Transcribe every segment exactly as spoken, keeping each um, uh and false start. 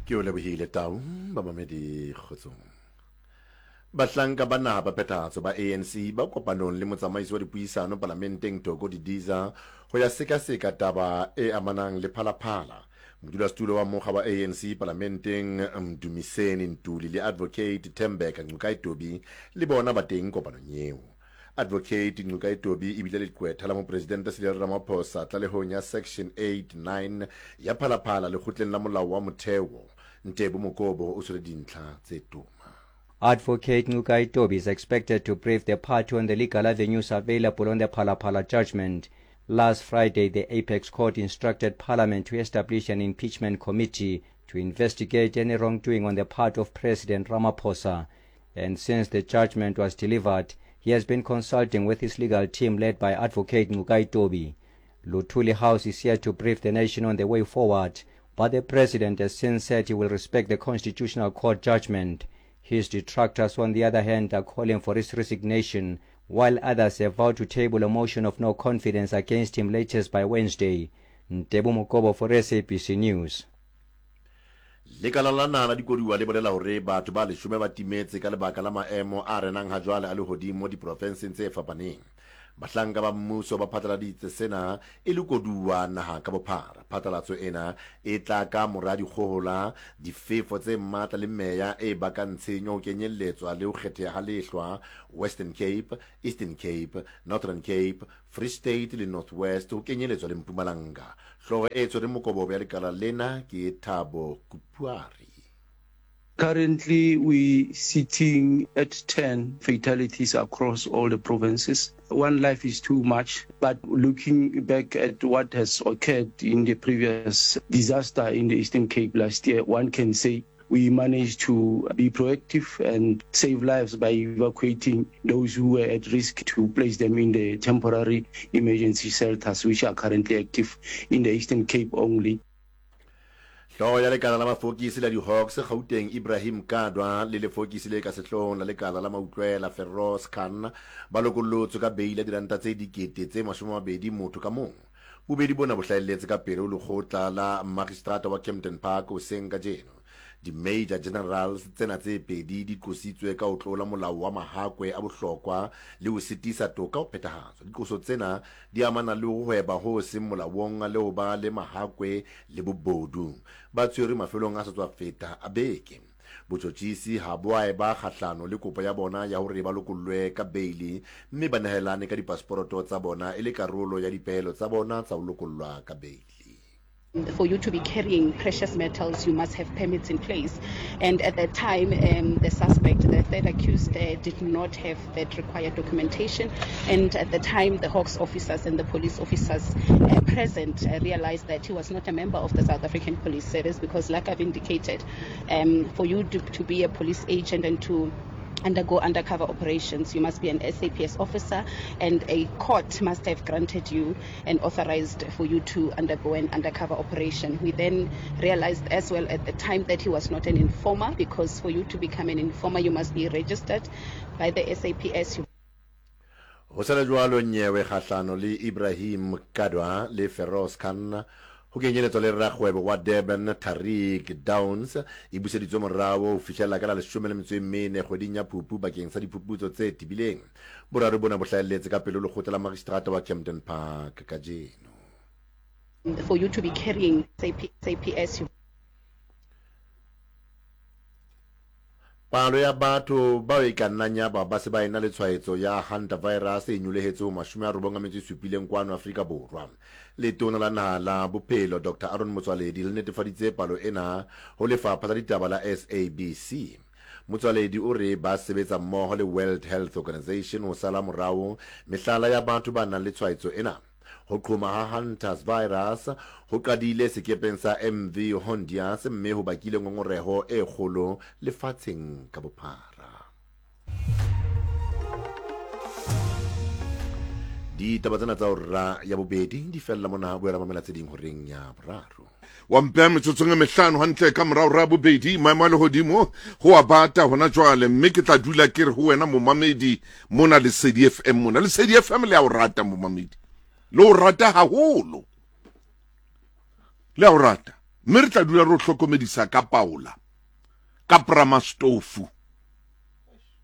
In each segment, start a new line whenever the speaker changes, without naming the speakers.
Ke o lebohile Tau, bamamedi kgotsong. Bahlanka ba naha ba phethahatso ba A N C ba kopanong le motsamaisi wa dipuisano palamenteng Thoko Didiza ho ya sekaseka taba e amanang le Phalaphala. Modulasetulo wa mokga wa A N C palamenteng Mdumiseni Ntuli le Advocate Thembeka Ngcukaitobi le bona ba teng kopanong eo. Advocate Ngcukaitobi ebile leqwetha la mopresidente Cyril Ramaphosa tlalehong ya Section eight nine ya Phalaphala lekgotleng la molao wa motheo. Ntebo Mokobo o tshwere dintlha tse toma.
Advocate Ngcukaitobi is expected to brief the party on the legal avenues available on the Phalaphala judgment. Last Friday, the Apex Court instructed Parliament to establish an impeachment committee to investigate any wrongdoing on the part of President Ramaphosa. And since the judgment was delivered, he has been consulting with his legal team led by Advocate Ngcukaitobi. Luthuli House is here to brief the nation on the way forward, but the president has since said he will respect the Constitutional Court judgment. His detractors, on the other hand, are calling for his resignation, while others have vowed to table a motion of no confidence against him latest by Wednesday. Ntebo Mokobo for S A B C News.
Lekala la naha la dikoduwa le bolela hore batho ba leshome ba timetse ka lebaka la maemo a renang ha jwale a lehodimo diprofenseng tse fapaneng. Bahlanka ba mmuso ba phatlaladitse sena e le koduwa naha ka bophara. Phatlalatso ena e tla ka mora dikgohola, difefo tse matla le meya e bakang tshenyo ho kenyelletswa le ho kgetheha ha lehlwa Western Cape, Eastern Cape, Northern Cape, Free State le North West ho kenyelletswa le Mpumalanga. Hlooho e tshwereng mokobobo ya lekala lena ke Thabo Kupuari.
Currently, we're sitting at ten fatalities across all the provinces. One life is too much, but looking back at what has occurred in the previous disaster in the Eastern Cape last year, one can say we managed to be proactive and save lives by evacuating those who were at risk to place them in the temporary emergency shelters, which are currently active in the Eastern Cape only.
Hlooho ya lekala la mafokisi la di-Hawks Gauteng Ibrahim Kadwa le lefokisi le ka sehloohong la lekala la mautlwela Feroz Khan ba lokollotswe ka beile ya diranta tse dikete tse mashome a mabedi motho ka mong. Bobedi bona bo hlahelletse ka pele ho lekgotla la magistrata wa Kempton Park hoseng kajeno. Di-major generals tsena tse pedi di qositswe ka ho tlola molao wa mahakwe a bohlokwa le ho sitisa toka ho phethahatswa. Diqoso tsena di amana le ho hweba ho seng molaong le ho ba le mahakwe le bobodu. Ba tshwerwe mafelong a sa tswa feta a beke. Botjhotjhisi ha bo a eba kgahlano le kopo ya bona ya hore ba lokollwe ka beili mme ba nehelane ka dipasporoto tsa bona e le karolo ya dipehelo tsa bona tsa ho lokollwa ka beili.
For you to be carrying precious metals, you must have permits in place. And at that time, um, the suspect, the third accused, uh, did not have that required documentation. And at the time, the Hawks officers and the police officers, uh, present, uh, realized that he was not a member of the South African Police Service because, like I've indicated, um, for you to, to be a police agent and to undergo undercover operations, you must be an S A P S officer, and a court must have granted you and authorized for you to undergo an undercover operation. We then realized as well at the time that he was not an informer, because for you to become an informer, you must be registered by the S A P S.
Ho sala jwalo nyewe kgahlano le Ibrahim Kadwa le Feroz Khan ho kenyeletswa le rakgwebo wa Durban Tariq Downs e buseditswe morao ho fihlela ka la leshome le metso e mene kgweding ya Phupu bakeng sa diphuputso tse tebileng. Boraro bona bo hlahelletse ka pele ho lekgotla la magistrata wa Kempton Park kajeno.
For you to be carrying S A P S, you
Palo ya batho bao e ka nnang ya ba ba se ba ena le tshwaetso ya hantavirus e nyolohetse ho mashome a robong a metso e supileng kwano Afrika Borwa. Letona la naha la bophelo Doctor Aaron Motsoaledi le netefaditse palo ena ho lefapha la ditaba la S A B C. Motsoaledi o re ba sebetsa mmoho le World Health Organization ho sala morao mehlala ya batho ba nang le tshwaetso ena. Ho qhoma ha hantavirus ho qadile sekepeng sa M V Hondias mme ho bakile ngongoreho e kgolo lefatsheng ka bophara. Ditaba tsena tsa hora ya bobedi di fella mona, boela mamela tse ding horeng ya boraro.
Wa mpea metsotsong e mehlano hantle ka morao ra bobedi, maemo a lehodimo ho a bata hona jwale, mme ke tla dula ke re ho wena momamedi mona Lesedi F M mona. Lesedi F M le a o rata momamedi, le o rata haholo, le a o rata. Mme re tla dula re o hlokomedisa ka paola, ka pramastofu,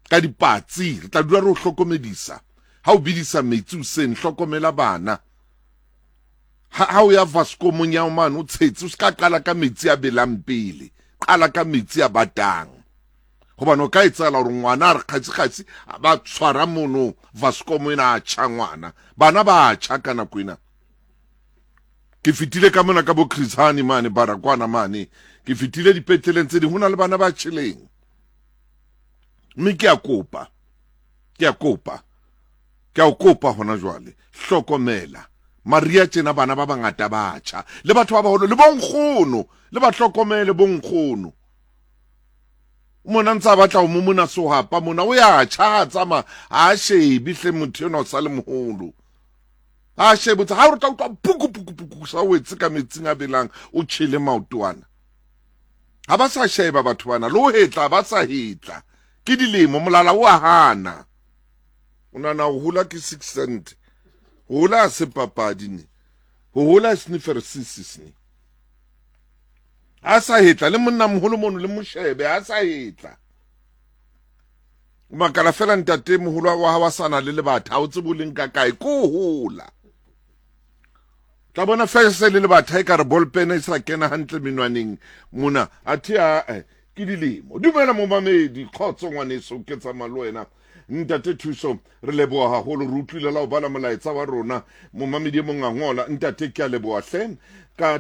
ka dipatsi, re tla dula re o hlokomedisa. Ha o bidisa metsi hoseng, hlokomela bana. Ha ha o ya vaskomong ya mane o tshetse, o ska qala ka metsi a belang pele, qala ka metsi a batang. Hobane o ka etsahala hore ngwana a re kgatsi-kgatsi ba tshwara mono vaskomo ena a tjha ngwana. Bana ba tjha ka nako ena. Ke fetile ka mona ka bo Chris Hani mane, Baragwana mane. Ke fetile dipetleleng tse ding, ho na le bana ba tjheleng. Mme ke a kopa, ke a kopa, ke a o kopa hona jwale, hlokomela. Maria tjena bana ba bangata ba tjha, le batho ba baholo, le bonkgono, le ba hlokomele bonkgono. Mona ntse a batla ho momona sohapa mona, o ya tjha, a tsamaya, ha a shebe hle motho enwa o sa le moholo. Ha a shebe, ha o re tla utlwa puku, puku, puku, sa wetse ka metsing a belang, o tjhele maoto ana. Ha ba sa sheba batho bana, le ho hetla, ba sa hetla. Ke dilemo, molala o a hana. O nahana ho hola ke six cent. Ho hola ha se papadi ne. Ho hola sniffer six ne. Ha sa hetla, le monna moholo mono le moshebe, ha sa hetla. O makala fela ntate moholo wa hao a sa na le lebatha, ha o tsebe o leng ka kae, ko hola. Tla bona fela se le lebatha e ka re ballpen e sa kena hantle menwaneng mona, athe a, eh, ke dilemo. Dumela momamedi, kgotso ngwaneso, ke tsamaya le wena. Ntate Thuso, re leboha haholo, re utlwile la ho bala molaetsa wa rona. Momamedi e mong a ngola, ntate ke a leboha hle ka